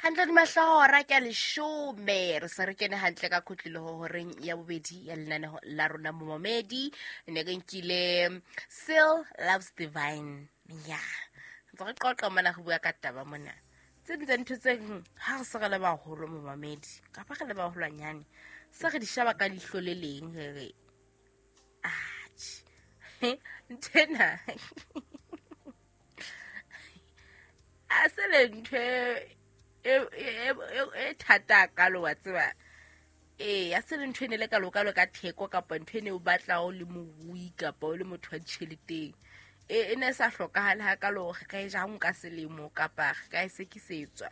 Hantle dimahlahora ke a 10, re se re kene hantle ka khutlilo horeng ya bobedi ya lenaneho la rona momamedi. Ne re nkile Seal Loves Divine. Ya ntse re qoqa mona, re bua ka taba mona tse ding tsa ntho tse ha re se re le baholo momamedi, kapa re le baholwanyane, se re di sheba ka leihlo le leng, re re atjhe, nthwena a se le ntho e thata kalo, wa tseba. Ee, a se le ntho e ne le kalokalo ka theko, kapa ntho e ne o batla o le morui kapa o le motho wa ditjheleteng. E ne e sa hlokahale hakalo, re ka e jang ka selemo kapa re ka e sekisetswa.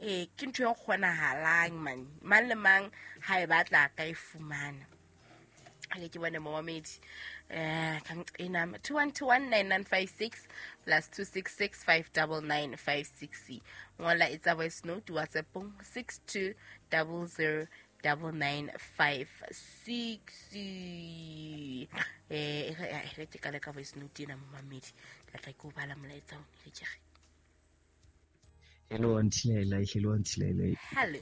Ee, ke ntho e kgonahalang man, mang le mang ha e batla a ka e fumana. Ake ke bone momamedi ena 21219956 plus 266 59956. Ngola, etsa voice note WhatsAppong 62009956. E re ke kale ka voice note ena momamedi, ka tla ke o bala molaetsa o re ke re. Hello Auntie Laila, hello Auntie Laila. Hello.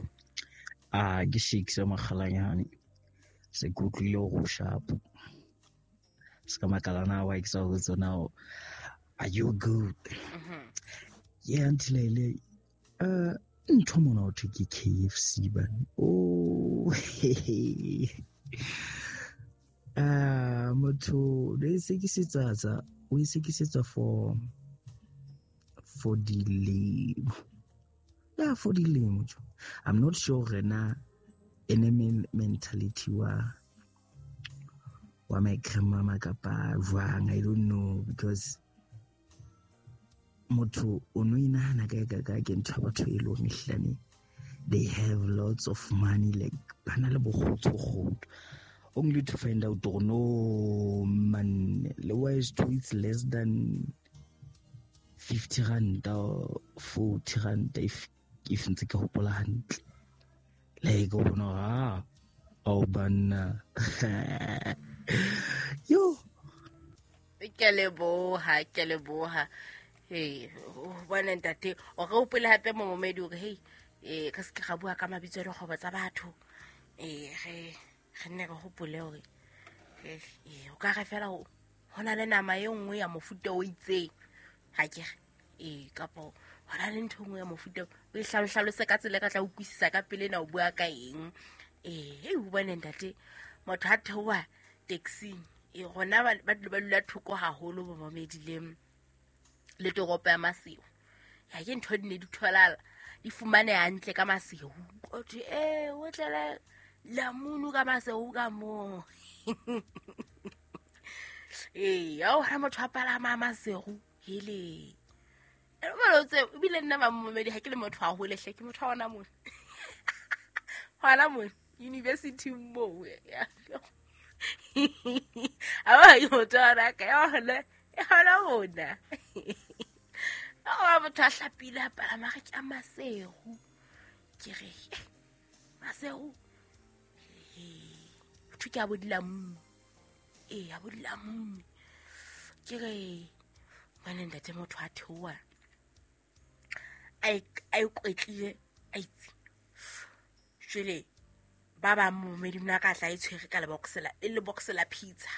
Ah, ke Shakes Makgalanyane. Se ke utlwile hore o sharp. Se ka makala na wa ke sa ho tsona. Are you good? Mhm. Yeah, Auntie Laila. Ntho mona ho thwe ke KFC bane. Oh. Ah, motho le sekisetsa tsa, o e sekisetsa for dilemo. Yeah, for dilemo jo. I'm not sure hore na ene mentality wa my grandmama kapa jwang, I don't know, because motho o no inahana kae ka kae ke ntho ya batho e leng ehlane they have lots of money, like ba na le bokgothokgotho, only to find out gore no man, le wise to it's less than 50 ranta or 40 ranta, if ntse ke hopola hantle. Like o bona hore, ah, ao banna yo. Ke leboha, ke leboha. Ee, bona ntate, o re hopole hape momamedi hore hei, re se ke ra bua ka mabitso a dikgwebo tsa batho. Ee, re nne re hopole hore ee, o ka re fela ho na le nama e nngwe ya mofuta o itseng, ha ke re ee, kapa ho na le ntho e nngwe ya mofuta o e hlalose ka tsela e ka tla utlwisisa ka pele na o bua ka eng. Ee, hei, o bone ntate, motho ha theoha taxing, ee, rona ba dula thoko haholo bomamedi le toropo ya Maseru. Ya ke ntho di ne di tholala, di fumaneha hantle ka Maseru. O thwe ee, o tlele lamunu ka Maseru ka moo. Ee, ya o motho a palama Maseru hele. Ebile nna mamomedi ha ke le motho haholo hle, ke motho wa hona mona. Hona mona university moo. A ba ke motho wa hona ka ya hona, hona mona. Wa motho a hlapile a palama re ke a Maseru. Ke re Maseru. Thwe ke a bo dilamunu. Ee, a bo dilamunu. Ke re ngwane ntate, motho a theoha a ikwetlile a itse. Jwale ba bang momedi mona ka tla e tshwere ka lebox la, e le box la pizza.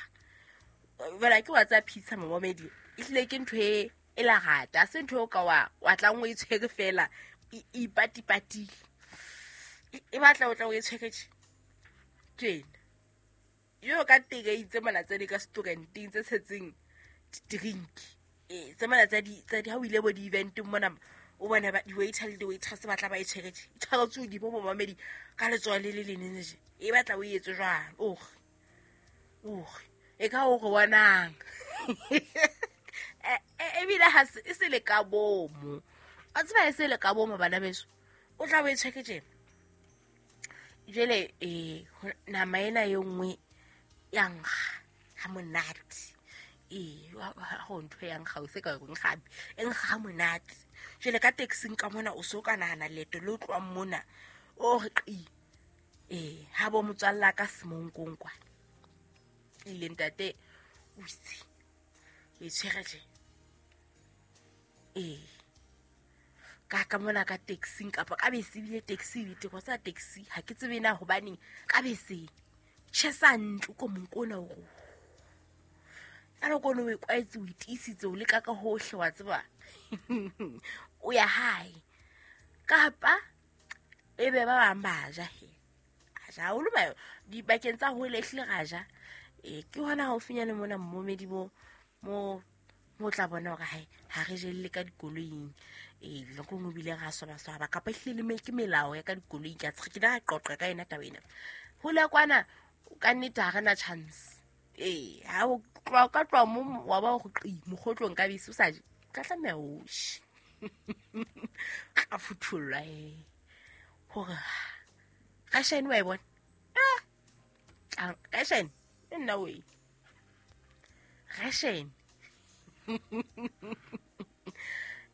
Jwale ke wa tsa pizza momamedi, ehlile ke ntho e lerata, ha se ntho eo ka wa tlang o e tshwere fela e ipatipatile. E batla o tla o e tshwere tje. Tjena. Yo ka teng tse mona tse di ka restauranteng tse tshetseng drink. Ee, tse mona tsa di ha o ile bo di-eventeng mona, o bone ba di-waiter le di-waitress ba tla ba e tshwere tje. E tshwaretswe hodimo momamedi ka letsoho le le leng tje. E batla o etse jwalo. Ore. Ore. E ka o re bonang. Ebile ha se e se le ka bomo. Wa tseba e se le ka bomo bana beso. O tla o e tshwere tjena. Jwale nama ena e nngwe ya nkga ha monate. Ee, ha ho ntho ya nkga o se ka reng gape, e nkga ha monate. Jwale ka taxing ka mona o so ka nahana leeto le o tlohang mona, o re qi. Ee, ha bo motswalla ka Semonkong kwana. Ile ntate o itse, o e tshwere tje. Ee. Ka mona ka taxing kapa ka bese ebile taxi ebete kwa tsa taxi ha ke tsebe na hobaneng ka beseng tjhesa ntlo ko monko ona o ka nako ono o e kwaetse o itiisitse o leka ka hohle wa tseba o ya hae kapa e be ba bang ba ja he a ja haholo ba dibakeng tsa hole ehlile ra ja. Ke hona haufinyane mona mmomedi mo mo tla bona hore hae ha re jelle ka dikoloing. Nako nngwe ebile ra swabaswaba kapa ehlile le ke melao ya ka dikoloing ka tshe ke la qoqa ka yona taba ena. Hole kwana ka nnete ha re na chance. Ha o tloha ka tloha mo wa ba go qi mogotlong ka bese o sa je ka tlameha o she ka futhullwa hore ka shane wa e bona ka shane nna we ka shane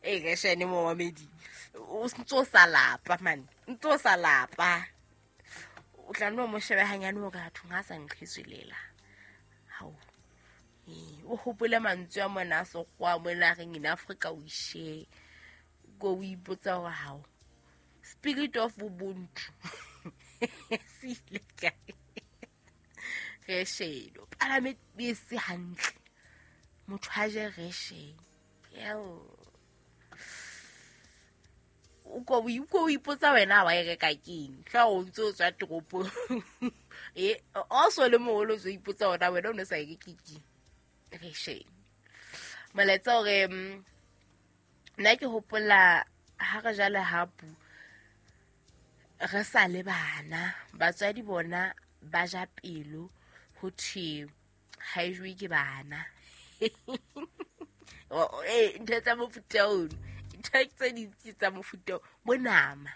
ka shane mo mamedi o ntso sa lapa man ntso sa lapa o tla no mo shebe hanyane o ka thong ha sa nqhetswelela hao o hopole mantswe a mona a sekgowa mona a reng in Africa we share go o ipotsa hore hao spirit of ubuntu se ile kae re shelo palame bese hantle motho a je re shelo o ko ipotsa wena wa e reka keng tla o ntse o tswa toropong also le moholo o ipotsa wena wena o ne sa e reke keng re shelo molaetsa hore nna ke hopola ha re jala hapu re sa le bana batswadi bona ba ja pelo ho thwe ha e jowe ke bana ntho tsa mofuta ono ntho tse dintsi tsa mofuta bo nama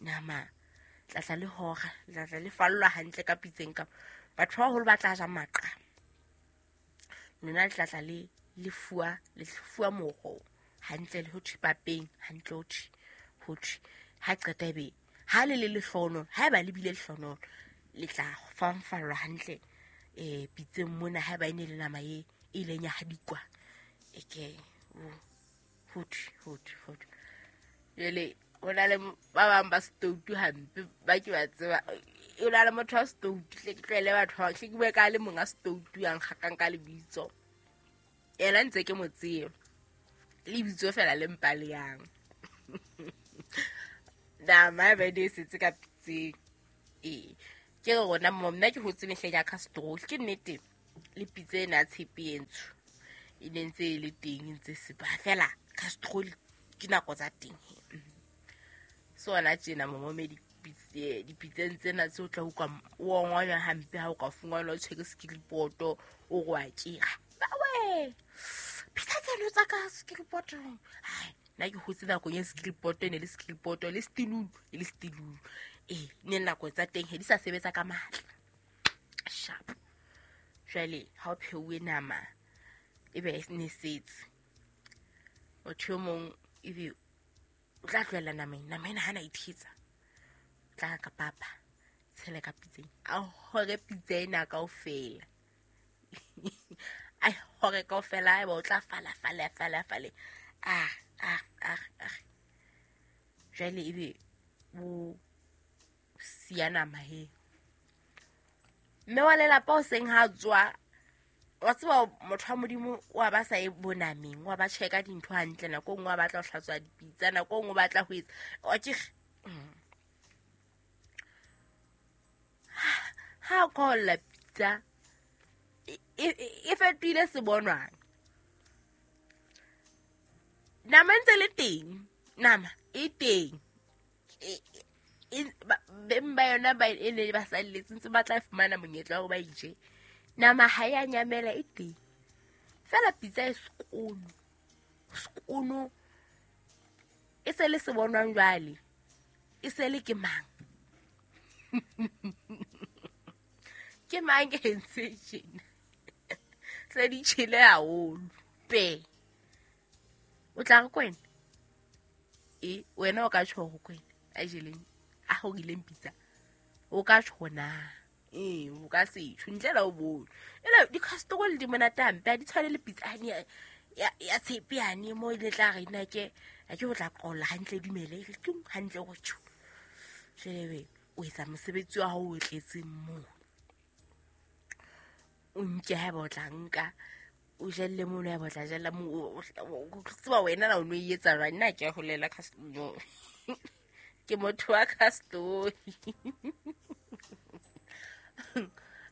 nama tlatla le hora tlatla le fallwa hantle ka pitseng ka batho ba baholo ba tla ja maqa lona le tlatla le fuwa moro hantle le ho thwe papeng hantle ho thwe ha qeta ebe ha le le lehlono ha eba le bile lehlono le tla fanfallwa hantle pitseng mona ha eba e ne le nama e ileng ya hadikwa eke ho thwe jwale ho na le ba bang ba stoutu hampe ba ke ba tseba o na le motho wa stoutu hle ke tlwaele batho ba hle ke bue ka le monga stoutu yang kgakang ka lebitso yena ntse ke mo tseba lebitso fela le mpa le yang nama e be setse ka pitseng ke re rona mo nna ke hotse mehleng ya Castrol ke nnete le pitse ena tshepe e ntsho e ne ntse e le teng e ntse sepa fela Castrol ke nako tsa teng sona tjena momomedi dipitseng tsena tse o tla utlwa o ongonywa hampe ha o ka fungwana o tshwere sekiripoto o re wa kera bawe pitsa tseno tsa ka sekiripoto hai nna ke hotse nakong ya sekiripoto e ne le sekiripoto le stilulu e le stilulu ne nako tsa teng he di sa sebetsa ka matla sharp jwale ha o pheuwe nama e be ne setse motho yo mong ebe o tla tlohella nameng nama ena ha na ithetsa tla ka papa tshele ka pitseng a hore pitsa ena kaofela a hore kaofela eba o tla fala fala fala fale a jwale ebe o siya nama he mme wa lelapa o seng ha tswa wa tseba motho wa Modimo wa ba sa e bonameng wa ba checka dintho hantle nako nngwe wa batla ho hlatswa dipitsa nako nngwe o batla ho etsa wa ke ha kolla pitsa e fetohile sebonwang nama ntse le teng nama e teng beng ba yona ba e ne ba salletse ntse ba tla fumana monyetla wa ba ije nama ha ya nyamela e teng fela pitsa e sekono e se le sebonwang jwale e se le ke mang ke mang ke ntse tjena tse di tjhele haholo pe o tla re kwena wena o ka tjho ho kwena a jeleng a horileng pitsa o ka tjho na o ka se tjho ntle la o bone ela di-castrol di monate hampe ha di tshwane le pitsa ya tshepe yane mo e le tla re nna ke a ke o tla qolla hantle dumele e re tung hantle go tjho. Jwale o etsa mosebetsi wa hao o tletseng moo. O nke haeba o tla nka o jelle mono haeba o tla jella moo o tseba wena na o no e etsa jwang. Nna ke a holela no. Ke motho wa castoi.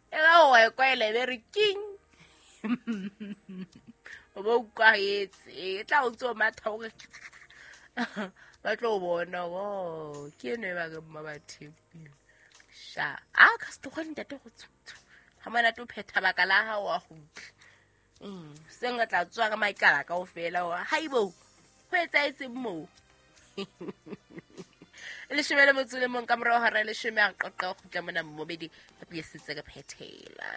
E ga o e kwaela e be re king. O bo utlwahetse e tla o ntse o matha o re ba tlo bona o ke eno e ba re mma ba thepile. Sha a castoi ntate go tsho. Ha monate o phetha baka la hao wa kgutla. Seng re tla tswa ka maikala kaofela hore haibo ho etsahetseng moo. Leshome le motso le mong ka morao hora leshome a re qoqa ho kgutla mona mmobedi re buisitse re phethela.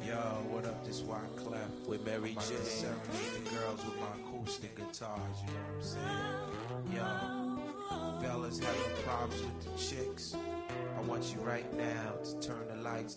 Yo, what up, this Wyclef with Mary J. Serenade the girls with my acoustic guitars, you know what I'm saying? Yo, fellas having problems with the chicks. I want you right now to turn the lights